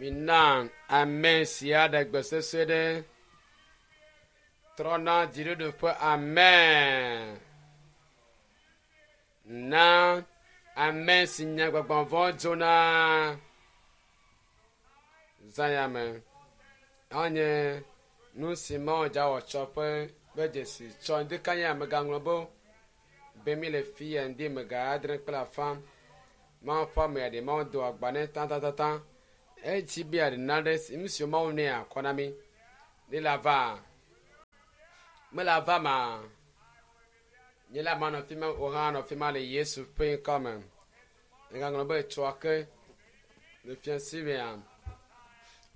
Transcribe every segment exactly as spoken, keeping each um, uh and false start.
Mina ame sia ɖe gbe sesẽ ɖe. Trɔna dziɖuɖu ƒe amen. Na ame si nye gbɔgbɔ vɔ̃ dzona. Zã me. Anye nu si Mawu dza wɔ tsɔ ƒe ƒe dzesi tsɔ ŋdi kanya megaŋlɔ be be mi le fi ya ŋdi me ga adre kple afã. Mawu ƒe ame aɖe Mawu do agba nɛ tatatata. Etsi be aɖe na ɖe si nu si Mawu nɛ akɔ na mi. Ne la va. Mele ava ma. Nye la manɔ fi ma o hã nɔ fi ma le Yesu ƒe ŋkɔ me. Megaŋlɔ be tsɔa ke le fia si mea.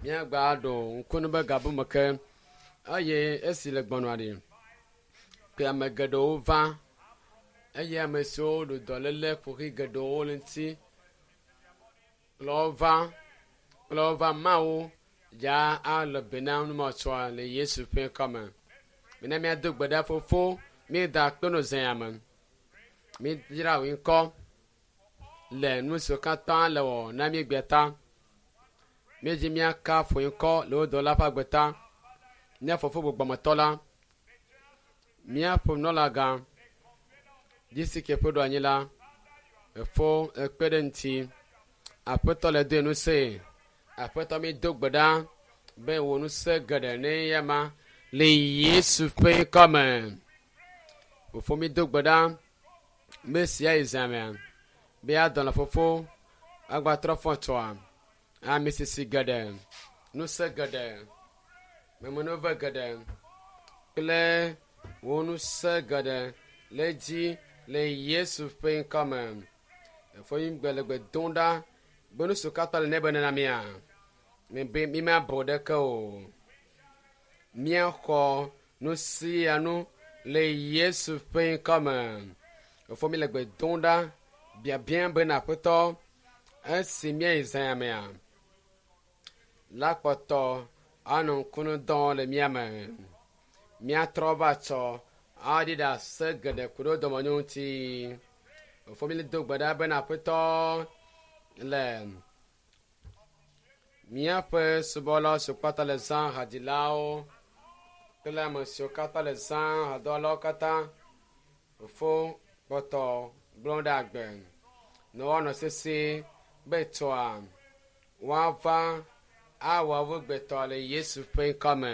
Míagba ɖo ŋkunu be gabu me ke eye esi le gbɔnɔa ɖi ke ame geɖewo va eye ame siwo ɖo dɔléle ƒoxi geɖewo le ŋuti kplɔ wo va kplɔ wo va Mawu ya alɔ be na numɔtsɔa le Yesu ƒe ŋkɔ me. Mina míado gbe ɖa fofo míeda akpe no zã ya me. Mídzra wò ŋkɔ le nu siwo katã le wɔ na mí gbea ta. Míedzi míakafu ŋkɔ le wò dɔla ƒe agbe ta. Mía fofo gbɔgbɔmetɔ la, míaƒe nunɔlagã, Jisike ƒe ɖoanyi la, efo ekpe ɖe ŋuti. Aƒetɔ le doe ŋusẽ. Aƒetɔ mi do gbe ɖa be wò ŋusẽ geɖe ne ya ma le Yesu ƒe ŋkɔ me. Fofo mi do gbe ɖa be sia yi zã mea be adɔlɔ fofo agbatrɔ fɔ tsɔa ame sisi geɖe, ŋusẽ geɖe, memenove geɖe kple wò ŋusẽ geɖe le dzi le Yesu ƒe ŋkɔ me. Efo mi gbe le gbe dom ɖa be nu siwo katã le nɛ be nena mía mi be mi mabɔ ɖeke o. Míaxɔ nu sia nu le Yesu ƒe ŋkɔ me. Efo mi le gbe dom ɖa biabia bena Aƒetɔ esi míayi zã ya mea la kpɔtɔ anɔ ŋkunu dɔm le mía me. Míatrɔ va tsɔ aɖi ɖase geɖe ku ɖe dɔmenyo ŋuti. Efo mi le do gbe ɖa bena Aƒetɔ le míaƒe subɔlawo siwo katã le zã hadzilawo kple ame siwo katã le zã hadɔwɔlawo katã fofo kpɔtɔ gblɔ ɖe agbe ne woanɔ sesĩe be tsɔa woava awɔ wo gbetɔ le Yesu ƒe ŋkɔ me.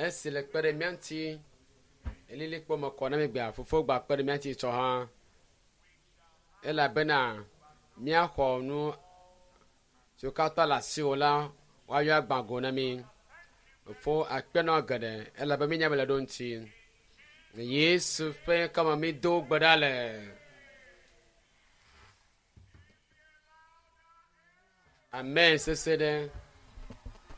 Esi le kpe ɖe mía ŋuti elilikpo me kɔ na mi gbea fofo gba kpe ɖe mía ŋuti tsɔ hã elabena míaxɔ nu siwo katã le asiwò la woayɔ agbã go na mí. Fofo akpe na geɖe elabe mínya be le ɖo ŋuti. Yesu ƒe ŋkɔ me mi do gbe ɖa le. Amen sese ɖe.